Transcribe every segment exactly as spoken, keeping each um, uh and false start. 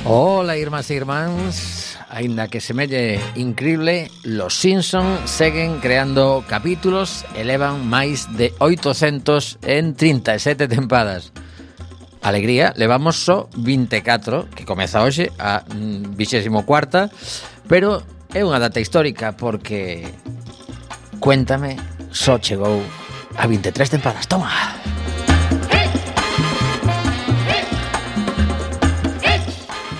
Hola, irmás e irmáns. Aínda que semelle increíble, los Simpson seguen creando capítulos e levan máis de oitocentos en trinta e sete tempadas. Alegría, levamos só vinte e catro, que comeza hoxe a vixésimo cuarta, pero é unha data histórica porque, cuéntame, só chegou a vinte e tres tempadas. Toma!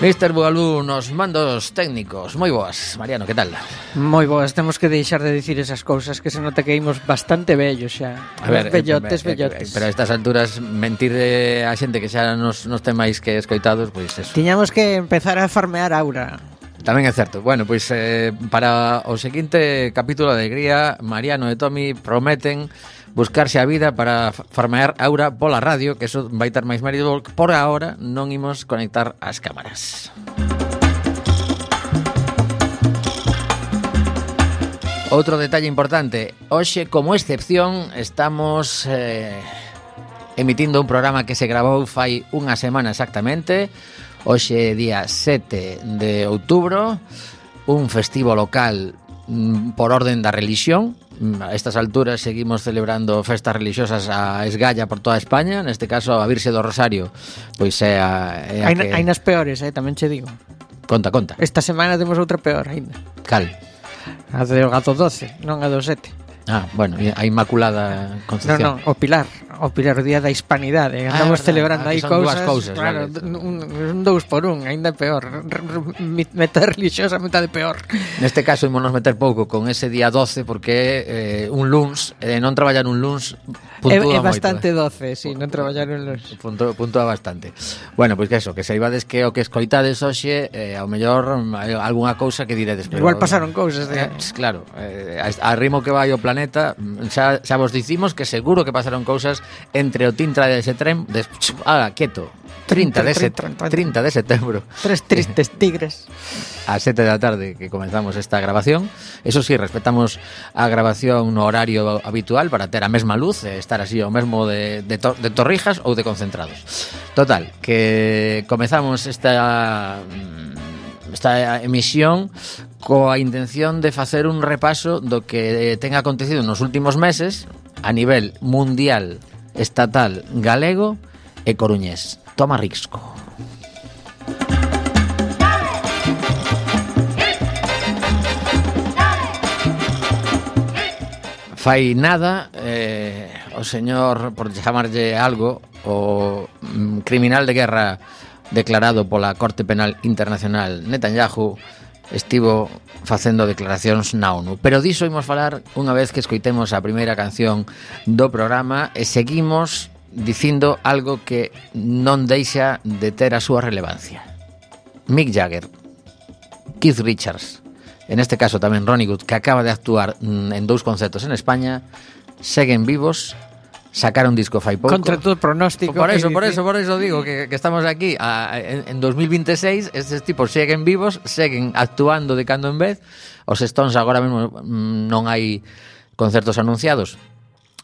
mister Bugalú nos mandos técnicos. Moi boas, Mariano, que tal? Moi boas, temos que deixar de dicir esas cousas que se nota que imos bastante vellos xa. A ver, vellotes, eh, vellotes. Pero a estas alturas mentir a xente que xa nos, nos ten máis que escoitados, pois eso. Tiñamos que empezar a farmear aura. Tamén é certo. Bueno, pois eh, para o seguinte capítulo de Alegría, Mariano e Tomi prometen buscarse a vida para farmear aura pola radio, que eso vai ter máis mérito. Por agora non imos conectar as cámaras. Outro detalle importante, hoxe como excepción estamos eh, emitindo un programa que se gravou fai unha semana exactamente. Hoxe día sete de outubro, un festivo local por orden da religión. A estas alturas seguimos celebrando festas religiosas a esgalla por toda España. Neste caso a Virxe do Rosario, pois é a, é a hai, que... hai nas peores, eh, tamén che digo. Conta, conta. Esta semana temos outra peor ainda. Cal? A do gato doce, non a do sete. Ah, bueno, a Inmaculada Concepción. Non, non, o Pilar, o Pilar, o día da hispanidade. Ah, Andamos verdad, celebrando ah, aí cousas, cousas, cousas, claro, vale. un, un dous por un, ainda peor. Metade religiosa, metade peor. Neste caso ímonos meter pouco con ese día doce porque eh, un luns, eh, non traballar un luns puntúa É, é moito, bastante eh. doce, si, sí, non traballar un luns. Punto, puntúa bastante. Bueno, pois que eso, que saibades que o que escoitades hoxe, eh, ao mellor hai algunha cousa que diredes. Pero, igual pasaron cousas de... Eh, claro, eh, a ritmo que vai o planeta, xa, xa vos dicimos que seguro que pasaron cousas entre o tintra de ese tren de, ah, quieto, trinta de setembro, tres tristes tigres a sete da tarde que comenzamos esta grabación. Eso sí, respetamos a grabación no horario habitual para ter a mesma luz e estar así o mesmo de, de, to, de torrijas ou de concentrados. Total, que comezamos esta esta emisión coa intención de facer un repaso do que ten acontecido nos últimos meses a nivel mundial, estatal, galego e coruñés. Toma risco. Fai nada, eh, o señor, por chamarlle algo, o mm, criminal de guerra declarado pola Corte Penal Internacional Netanyahu estivo facendo declaracións na ONU. Pero diso imos falar unha vez que escoitemos a primeira canción do programa e seguimos dicindo algo que non deixa de ter a súa relevancia. Mick Jagger, Keith Richards, en este caso tamén Ronnie Wood, que acaba de actuar en dous concertos en España, seguen vivos. Sacaron disco fai pouco. Contra todo pronóstico. Por eso, por eso, por eso digo que, que estamos aquí a, en, en dos mil veintiséis. Estes tipos seguen vivos, seguen actuando de cando en vez. Os Stones agora mesmo non hai concertos anunciados,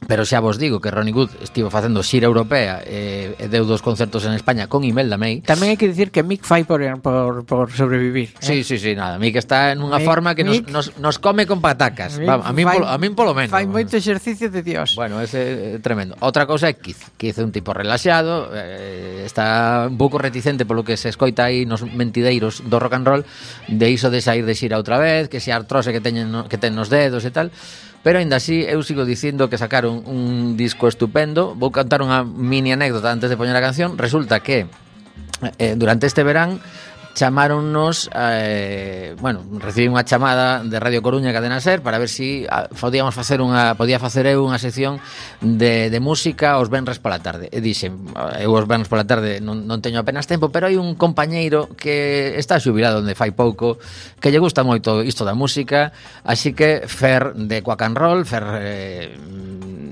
pero xa vos digo que Ronnie Wood estivo facendo xira europea e, e deu dos concertos en España con Imelda May. Tamén hai que dicir que Mick fai por, por, por sobrevivir, eh? Sí, sí, sí, nada. Mick está en unha Mick, forma que nos, Mick, nos, nos come con patacas. Va, a min polo, a min polo menos. Fai moito exercicio de Dios. Bueno, ese é tremendo. Outra cousa é Keith. Keith é un tipo relaxado, eh, está un pouco reticente polo que se escoita aí nos mentideiros do rock and roll, de iso de sair de xira outra vez, que se artrose que teñen que ten nos dedos e tal. Pero aínda así eu sigo dicindo que sacaron un disco estupendo. Vou contar unha mini anécdota antes de poñer a canción. Resulta que eh, durante este verán chamáronnos, eh, bueno, recibí unha chamada de Radio Coruña Cadena Ser para ver si ah, podíamos facer unha, podía facer eu unha sección de, de música os venres pola tarde. E dixen, eu os venres pola tarde non, non teño apenas tempo, pero hai un compañeiro que está xubilado onde fai pouco, que lle gusta moito isto da música, así que Fer de Quack and Roll, Fer eh,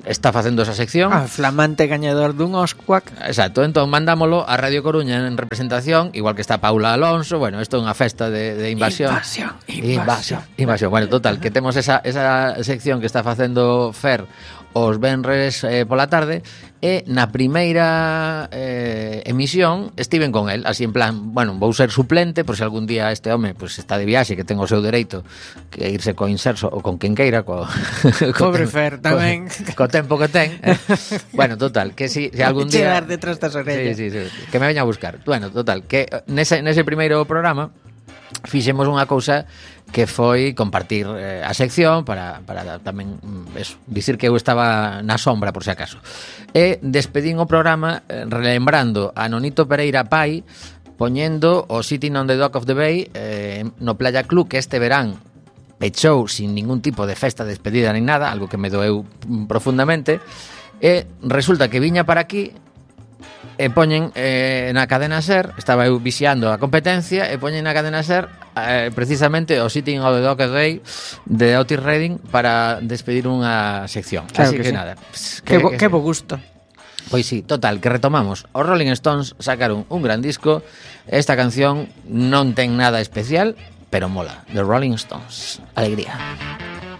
está facendo esa sección. Ah, flamante gañador dun Oscar. Exacto, entón mandámolo a Radio Coruña en representación, igual que está Paula Alonso. Bueno, isto é unha festa de, de invasión. Invasión, invasión. Invasión, invasión. Bueno, total, que temos esa, esa sección que está facendo Fer os venres eh, pola tarde, e na primeira eh, emisión estiven con el, así en plan, bueno, vou ser suplente, por se algún día este home pues, está de viaxe, que ten o seu dereito que irse co Inserso ou con quen queira, co, co Pobre Fer, tamén. Co, co tempo que ten. Eh. Bueno, total, que si, si algún día... Chegar detrás das orellas. Sí, sí, sí, que me veña a buscar. Bueno, total, que nese, nese primeiro programa fixemos unha cousa que foi compartir eh, a sección para, para tamén eso, dicir que eu estaba na sombra por si acaso, e despedín o programa eh, relembrando a Nonito Pereira pai poñendo o Sitting on the Dock of the Bay eh, no Playa Club, que este verán pechou sin ningún tipo de festa de despedida ni nada, algo que me doeu profundamente, e resulta que viña para aquí e poñen eh, na cadena SER, estaba eu vixiando a competencia, e poñen na cadena SER eh, precisamente o Sitting on the Dock of the Bay de Otis Redding para despedir unha sección. Claro Así que, que sí. nada, pues, Que, bo, que bo gusto. Pois sí, total, que retomamos. Os Rolling Stones sacaron un gran disco. Esta canción non ten nada especial, pero mola. The Rolling Stones. Alegría.